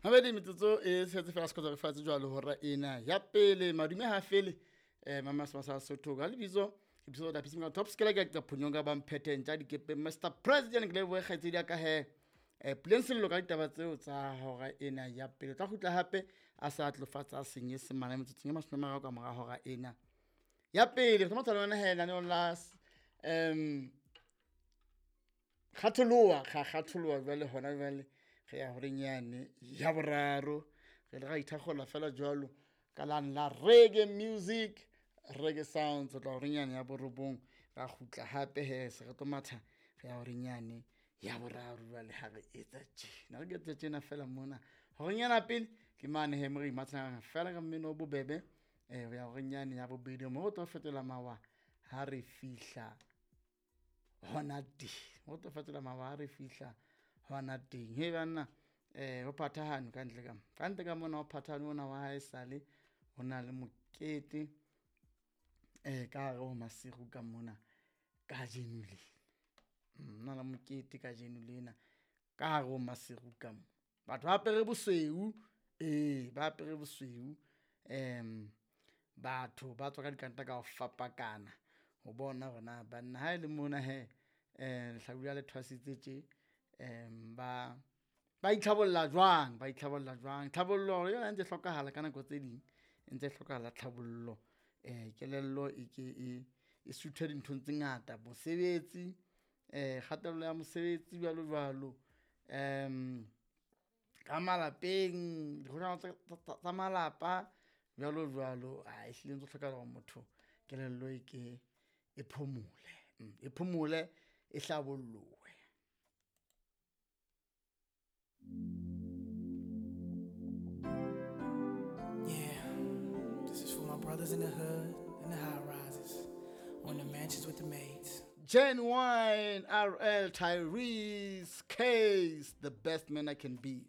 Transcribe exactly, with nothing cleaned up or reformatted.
Mabedi metsotso e setse fela sekotsa re fatshe jwalo hora ena ya pele madume ha fele eh mama sa Sotho ka lebitso ke bitso la Pisima Top Skela ke ka phonyong ka ba mpheteng tja dikepe Mister President ke lebohe kgaitsedi ya ka he eh Puleng Sello ka ditaba tseo tsa hora ena ya pele. Tla kgutla hape a sa tlofatsa senyesemane metsotsong e mashome a mararo ka mora hora ena ya pele. Re tlo lona he lenaneong la um kgatholoha ga kgatholoha jwale hona jwale re ya horeng yane ya boraro re le ra ithakgola fela jwalo ka lane la reggae music reggae sounds tla horeng yane ya borobong ra kgutla hape he se re tlo matha re ya horeng yane ya boraro jwale ha re etsa tjena re ke tjena fela mona horeng yana pele ke mane he mo re imathang fela ka mmino o bobebe eh ya horeng yane ya bobedi mo tlo fetola mawa ha re fihla hona teng mo tlo fetola mawa ha re fihla hona teng he banna eh ho phathahane ka ntle ka ka ntle ka mona ho phathahane ona wa hae sale hona le mokete eh ka hare ho Maseru ka mona kajeno le nna la mokete kajeno lena ka hare ho Maseru ka mo batho ba apere bosweu eh ba apere bosweu em batho ba tswa ka dikanta ka ho fapakana ho bona hore na banna ha ile mona he eh lehlabula le thwasitse tje em ba ba itlhabolla jwang ba itlhabolla jwang tlhabollo yona ntse hlokahala ka nako tse ding ntse hlokahala tlhabollo eh kelello e ke e e suthe dinthong tse ngata mosebetsi eh kgatello ya mosebetsi jwalo jwalo em ka malapeng dikgohlano tsa malapa jwalo jwalo a ehlile ntse hlokahala hore motho kelello e ke e phomole e phomole e hlabollohe. Yeah, this is for my brothers in the hood and the high rises, on the mansions with the maids. Genuine R L Tyrese Case, the best man I can be.